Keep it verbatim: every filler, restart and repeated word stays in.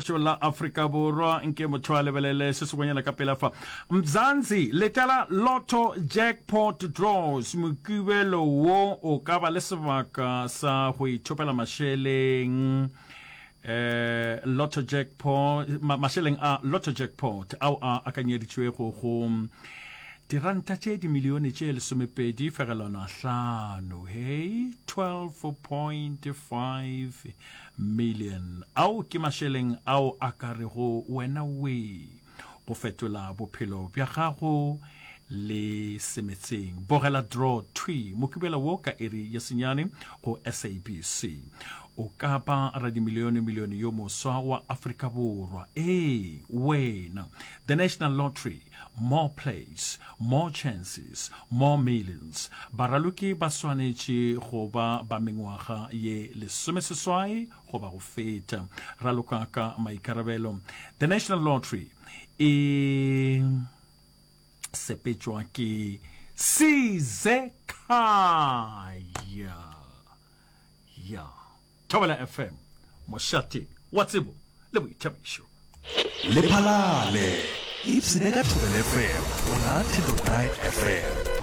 Šo la Afrika Borwa, nke motho a lebelele se sengwenyana ka pela fa. Mzansi, letela Lotto Jackpot Draws, Mokibelo wo o ka ba le sebaka sa go ithopela mašeleng eh Lotto Jackpot, ma, mašeleng a Lotto Jackpot ao a akanyeditšwego go diranta tše dimilione tše lesomepedi fegelwana hlano, hei, twelve point five million. Ao ke mašeleng ao a ka rego wena we go fetola bophelo bja gago le semetseng. Bogela draw thwi Mokibelo wo ka iri ya senyane go S A B C. O ka ba radimilione-milione yo moswa wa Afrika Borwa. Ee, wena. The National Lottery, more plays, more chances, more millions. Baraloki ba swanetše go ba ba mengwaga ye lesomeseswai goba go feta. Raloka ka maikarabelo. The National Lottery e sepetšwa ke Sizekhaya. Ya Thobela F M, mošate wa tsebo le boithabišo. Lephalale, ipshine ka Thobela F M go la ten dot nine F M.